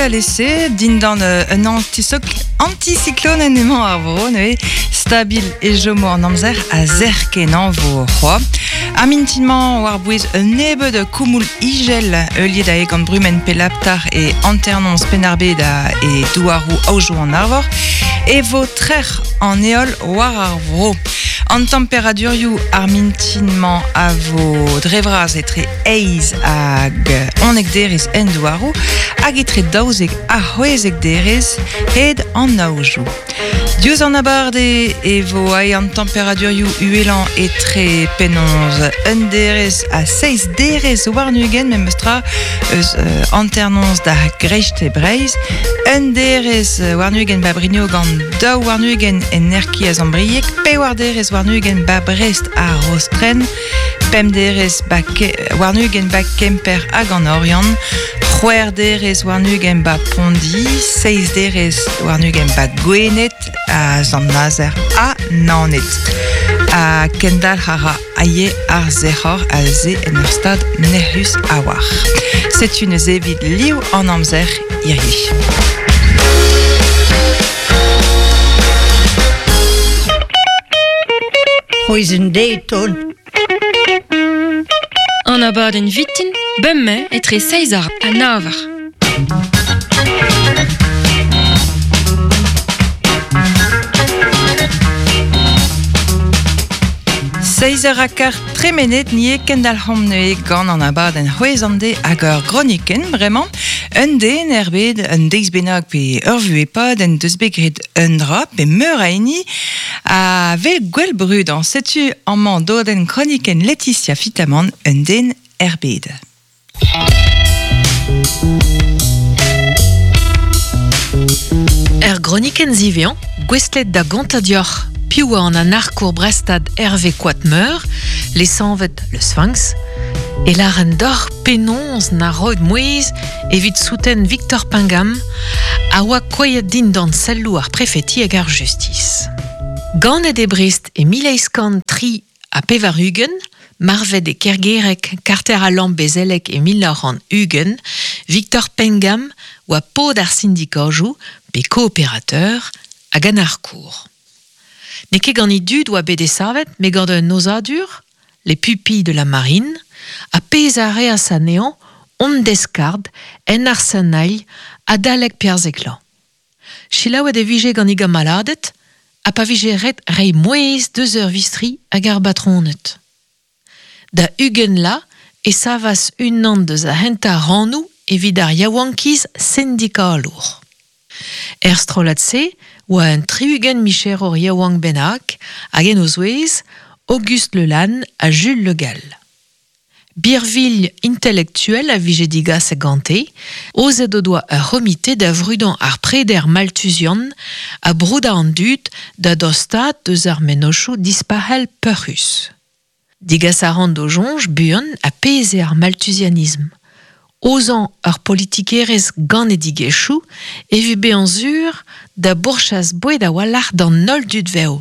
alese, dindan un anticyclone emañ ar vro, neuze stabil e chomo an amzer a zerr kenañ vo c'hoa. Ar mintin-mañ war-bouez un nebeud koumoul ijel heuliet ae gant brumenn Pelaptar e hanternoz Penn-ar-Bed e douaroù Aojoù an Arvor e vo trec'h an heol war ar vro. An temperadurioù ar mintin-mañ a vo dre vras etre eizh hag 11 derez en douaroù hag etre 12 ha 16 derez hed an aojoù. Diouzh an abardaez e vo aet an temperadurioù uhelañ etre penaos un derez ha seizh derez warn-ugent memestra eus hanternoz da greisteiz Breizh. Un derez warn-ugent ba Brignogan, daou warn-ugent en Erki a Zambrieg, pevar derez warn-ugent ba Brest ha Rostren, pemp derez warn-ugent ba Kemper hag an Oriant, c'hwec'h derez warn-ugent ba Pondi, seizh derez warn-ugent ba Gwened ha Sant-Nazer ha Naoned. Ha kendalc'h a ra aie ar sec'hor aze en ur stad nec'hus a-walc'h. Setu neuze evit liv an amzer hirie. C'hwezh deiz ton. An abadenn vitin, bemdez etre seizh eur ha nav eur. Seizh eur ha kart tremenet ni eo kendalc'homp neuze gant an abadenn c'hwezh an deiz hag ur gronikenn bremañ. Un den er bed, un deiz bennak pe ur vuhez pad en deus bet graet un dra pe meur a hini a vel gwell brudañ. Setu amañ dodenn kronikenn Laetitia Fitamant, un den er bed. Er gronikenn ziwezhañ, gouestlet da gontañ deoc'h piv oa an anarkour brestad Hervé Koatmeur, lesanvet Le Sphinx, e lâren deoc'h penaos na roet mouezh evit souten Victor Pengam a oa kouezhet dindan selloù ar prefeti hag ar justis. Ganet e Brest e 1883, marvet e Kergereg, karter al Lambezelleg e 1920, Victor Pengam oa paotr ar sindikajoù pe kooperateur hag anarkour. N'eo ket gant e dud oa bet desavet, met gant un aozadur, les pupilles de la marine, ha pezh a reas anezhañ hon deskard en arsanailh adalek perzheklañ. Selaouet e vije gant e gamaladed ha pa vije ret reiñ mouezh deus ur vistri hag ar batroned. Da ugent la e savas unan deus ar c'hentañ rannoù evit ar yaouankiz sindikalour. Er strollad-se oa un tri-ugent micherour yaouank bennak hag en o zouez Auguste Le Lann ha Jules Le Gall. Birvilh intelektuel a vije digaset gante, aozet o doa ur c'homite da vrudañ ar preder malthusian ha broudañ an dud da dostaat deus ar mennozhioù dispac'hel peurc'hus. Degas a ran d'o soñj buan ha pezh eo ar malthusianism. Aozañ ur politikerezh ganedigezhioù evit bezañ sur da bourchas boued a-walc'h d'an holl dud vev.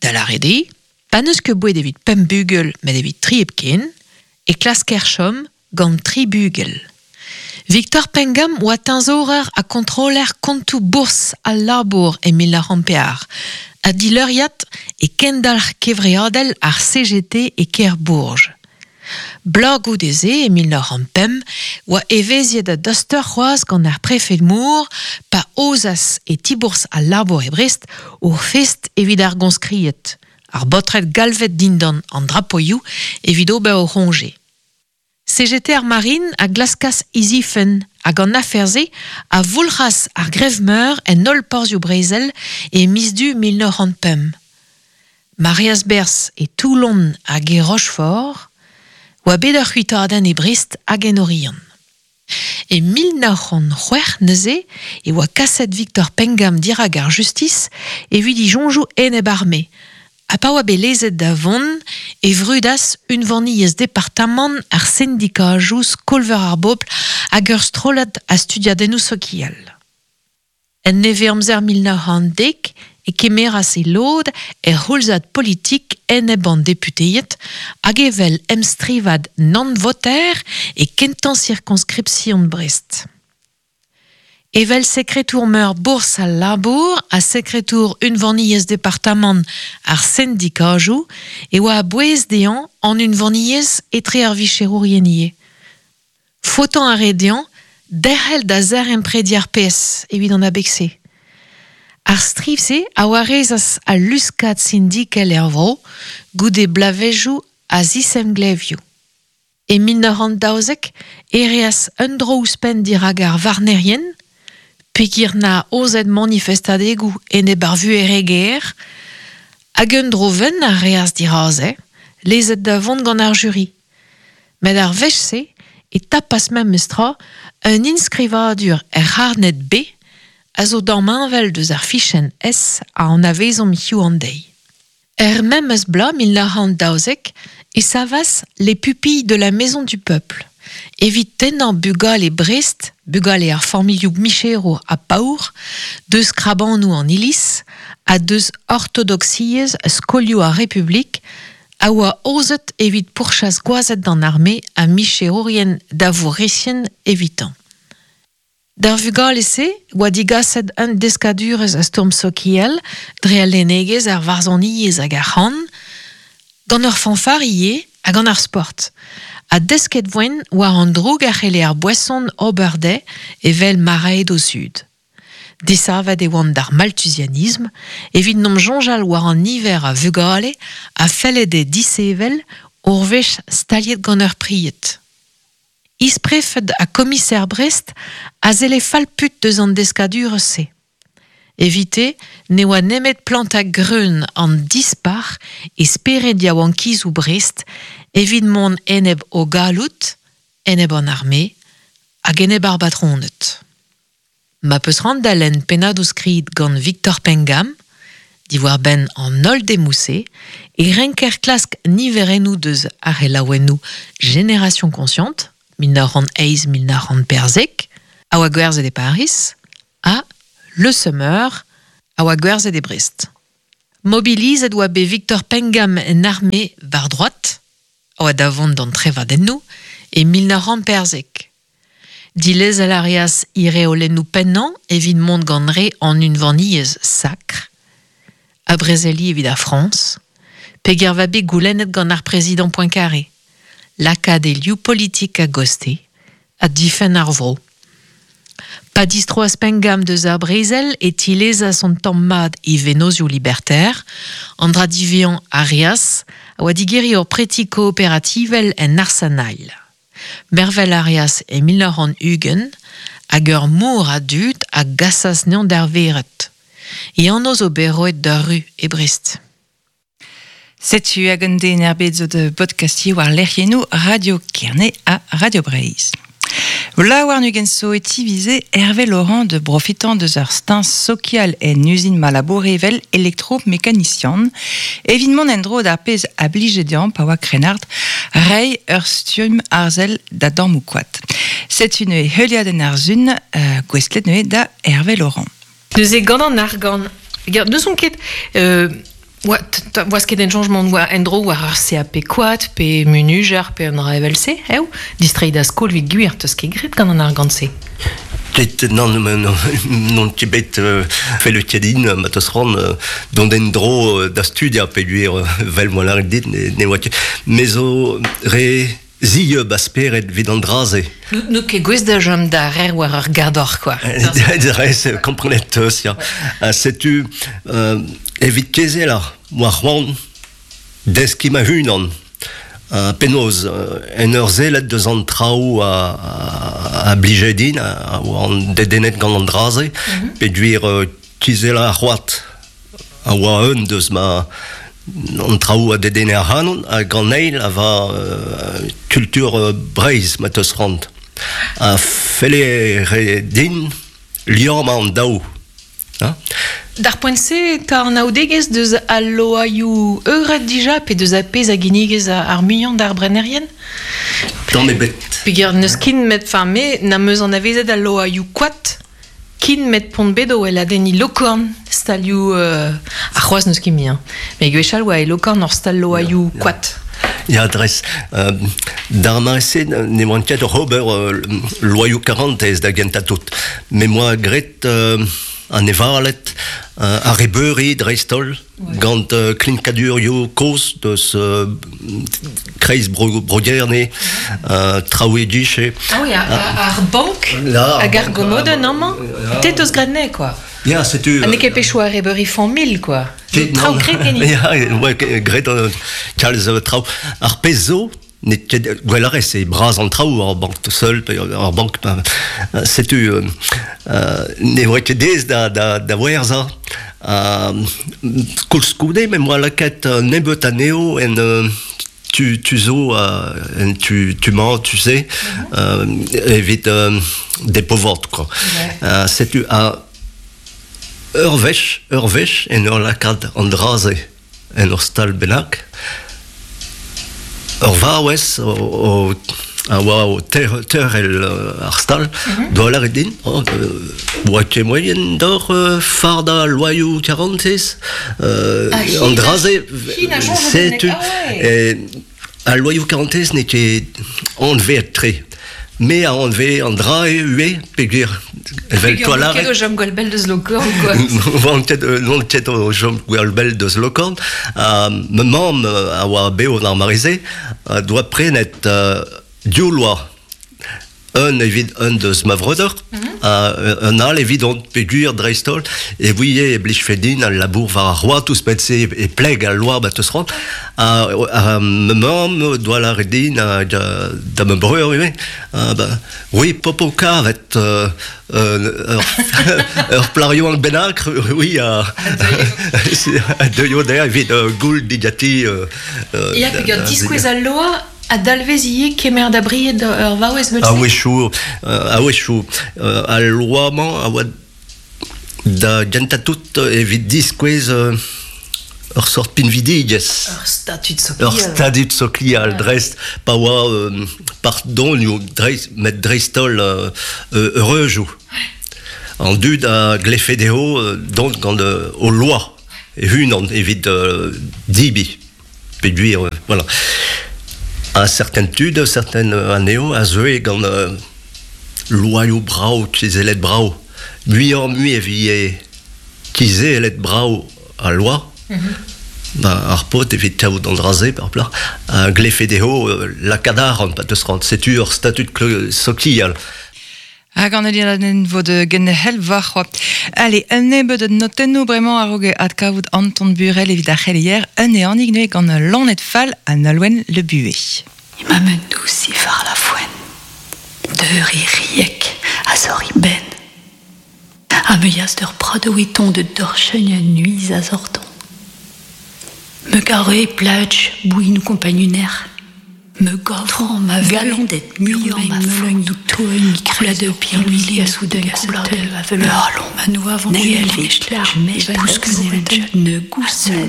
Da lâret eo, pa n'eus ket boued evit pemp bugel met evit tri hepken, e klasker chom gant tri bugel. Victor Pengam oa teñzorer ha kontroller kontoù bourzh al labour e 1904 ha dileuriad e kendalc'h kevreadel ar CGT e kêr Bourges. Bloaz goude-se, e 1905, oa evezhiet a-dostoc'h c'hoazh gant ar prefed Moore pa aozas e ti-bourzh al labour e Brest ur fest evit ar goñskried, ar baotred galvet dindan an drapoioù evit ober o c'hoñje. CGT ar Marine a glaskas e zifenn hag an afer-se a voulc'has ar grev-meur en holl porzhioù brezel e miz Du 1905. Ma reas berzh e Toulon hag e Rochefort, oa bet ur c'huitadenn e Brest hag en Oriant. E 1906 neuze e oa kaset Victor Pengam dirak ar justis evit e soñjoù enep-arme Ha pa oa bet lezet da vont e vrudas unvaniezh departamant ar sindikajoù Skol-veur ar Bobl hag ur strollad a studiadennoù sokial. En nevez-amzer 1910 e kemeras e lod er c'houlzad politik enep an deputeed hag evel emstrivad nann-voter e kentañ sirkonskripsion Brest. Evel sekretour meur bours al labour ha sekretour unvaniezh departamant ar sendikajoù e oa a-bouez dezhañ an unvaniezh etre ar vicherourien ivez. Faotañ a rae dezhañ derc'hel da zaremprediñ ar PS evit an abeg-se. Ar striv-se a warezas al luskad sindikel er vro goude bloavezhioù a zisemglevioù. E 1912 e reas un dro ouzhpenn dirak ar varnerien, peogwir 'na aozet manifestadegoù enep ar vuheregezh, hag un dro wenn a reas diraze, lezet da vont gant ar juri. Met ar wech-se e tapas memestra un enskrivadur er c'harned B a zo damheñvel deus ar fichenn S a anavezomp hiziv an deiz. Er memes bloaz 1912 e savas Les Pupilles de la Maison du Peuple evit tennañ bugale Brest, bugale ar familhoù micherour ha paour, deus krabanoù an Iliz ha deus ortodoksiezh skolioù ar Republik a oa aozet evit pourchas gwazed d'an arme ha micherourien da vourrezien evitañ. D'ar vugale-se oa digaset un deskadurezh a stourm sokial dre al lennegezh, ar varzhoniezh hag ar c'han, gant ur fanfar ivez ha gant ar sport. Ha desket voent war an droug a c'helle ar boeson ober dezhe evel ma rae d'o zud. Desavet e oant d'ar malthusianisme evit n'om soñjal war an niver a vugale a felle dezhe disevel ur wech staliet gant ur pried. Isprefed ha komiser Brest a selle fall-put deus an deskadurezh-se. Evite ne oa nemet plantañ greun an dispac'h e spered yaouankizoù Brest evit mont enep o galloud, enep an arme hag enep ar batroned. Ma 'peus c'hoant da lenn pennadoù-skrid gant Victor Pengam diwar-benn an holl demoù-se e renker klask niverennoù deus ar c'helaouennoù Génération Consciente, 1908-1914, a oa gwerzhet e Pariz, ha Le Semeur, a oa gwerzhet e Brest. Mobilizet oa bet Victor Pengam en arme war droad, a oa da vont d'an trevadennoù, e 1914. Dilezel a reas he reolennoù pennañ evit mont gant re an Unvaniezh Sakr, ha brezeliñ evit ar Frañs, peger va bet goulennet gant ar prezidant Poincaré lakaat e liv politik a-gostez ha difenn ar vro. Pa distroas Pengam deus ar brezel e tilezas an tamm mat e vennozioù liberter, an dra diwezhañ a reas a oa digeriñ ur preti kooperativel en Arsanailh. Mervel a reas e 1920 hag ur mor a dud a gasas anezhañ d'ar vered. E anv zo bet roet d'ur ru e Brest. Setu hag un den er bed zo da bodkastiñ war lec'hiennoù Radio Kerne ha Radio Breizh. Vla warn-ugent zo e tivize Hervé Laurent de profitañ deus ur steuñv sokial en uzin ma laboure evel elektromekanisian evit mont en-dro d'ar pezh a blije dezhañ pa oa krennard, reiñ ur stumm arzel da dammoù koad. Setu neuze heuliadenn ar sun gouestlet neuze da Hervé Laurent. Neuze gant an argant, n'eus ket oas ket en changement oa en-dro war ar CAP koad pe munujer pe un dra evel-se, eo? Distreiñ da skol evit gwir, 'teus ket graet gant an argant-se. Ket, nann, n'on ket bet fellet ket din, ma 'teus c'hoant dont en-dro da studiañ peogwir 'vel m'oa lâret dit ne oa ket. Me zo re zieub a spered evit an dra-se. N'out ket gouest da chom da rer war ur gador, quoi. Rez, komprenet 'teus, ya. Setu, evit kezellañ, 'moa c'hoant deskiñ ma-unan. Penaos, en ur sellet deus an traoù a blije din, a oan dedennet gant an dra-se, peogwir kizellañ ar c'hoad a oa un deus ma an traoù a dedenne ac'hanon hag an eil a va kultur Breizh ma 'teus c'hoant. A felle re din liammañ an daou. D'ar poent-se 'ta anaoudegezh deus al loaioù eured dija pe deus ar pezh a ginnigez ar muiañ d'ar brenerien? Tamm ebet. Peogwir n'eus ket met enfin me n'am eus anavezet al loaioù koad kin met p'on bet o weladenniñ Lokorn, stalioù ar c'hoazh n'eus ket mui hein. Met gwechall 'oa e Lokorn ur stal loaioù koad. Ya, dres. D'ar mare-se ne oan ket oc'h ober loaioù karantez da gentañ tout. Me 'moa graet an evaled, ar rebeuri dreist-holl, gant klinkadurioù kozh deus kreiz Bro-Gerne, traoù e-giz. Ah oui, ar bank hag ar gomodenn amañ, te 'teus graet anezhe, quoi. Ya, setu... Ha n'eo ket pechoù ar rebeuri familh, quoi. Traoù graet ganit. Ya, ouais, graet kalz traoù. Ar pezh zo, n'eo ket gwell a rez, eo bras an traoù, ar bank tout seul, pe ar bank, setu, ne voe ket aes da, da, da werzhañ. Koulskoude, me 'm boa lakaet nebeut anezho en tu, tu zo en tu, tu-mañ, tu sais, evit depovort, quoi. Setu, ur wech, ur wech, en ur lakaat an dra-se en ur stal bennak, ur vaouez o, a oa o teurel ar stal, doa lâret din, oh, oa ket moaien d'oc'h fardañ loaioù karantez, an dra-se, setu, al loaioù karantez n'eo ket anveet-tre. Me a anve an dra ivez, peogwir evel toa lâret... ket o chom gwall bell deus Lokorn, quoi. N'on ket o chom gwall bell deus Lokorn. Ma mamm a oa bev d'ar mare-se, doa prenet div loa. Un evit un deus ma vreudeur, un all evidon, peogwir dreist-holl e ouie e blijfe din al labour war ar c'hoad ouzhpenn-se e pleg al loa ma teus c'hoant. Ha ma mamm doa lâret din da ma breur ivez, ba, oui, popo kavet ur plac'h yaouank bennak, oui, a deuio dezhañ evit goul digati. Ya, peogwir diskouez al loa A dalvez ivez kemer da bried ur vaouez evel-se? A-wechoù, a-wechoù. Al loa-mañ a oa da gentañ tout evit diskouez ur sort pinvidigezh. Ur statud sokial. Ur statud sokial, dreist pa oa pardonioù, dreist, met dreist-holl eureujoù. An dud a glefe dezho dont gant o loa e-unan evit dibiñ. Peogwir, voilà. Ha certaines tud, certaines anezho a zeue gant loaioù brav, kizellet brav. Muioc'h-mui e vije kizellet brav al loa. Ba, ar paotr evit kaout an dra-se par plac'h a glefe dezho lakaat arc'hant pa 'teus c'hoant. Setu ur statud sokial. Hag an eliadenn vo da genderc'hel warc'hoazh. Allez, un nebeud notennoù bremañ a-raok adkavout Anton Burel evit ar c'heleier, un ehanig neuze gant Loened Fall ha Nolwenn Le Buet. Ema men dousif ar la foenn, Deuri riek a zor benn. Ha me yas d'ur pradoù de dorcheugn nuiz a zorton. Me gare plaj bouin kompagnuner. Me gavran ma galandet muioc'h ma meuleugn toeugn koulad ur pirluili a soudañ a vel halon ma nou avant ne gousel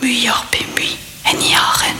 muioc'h pe mui en yaren.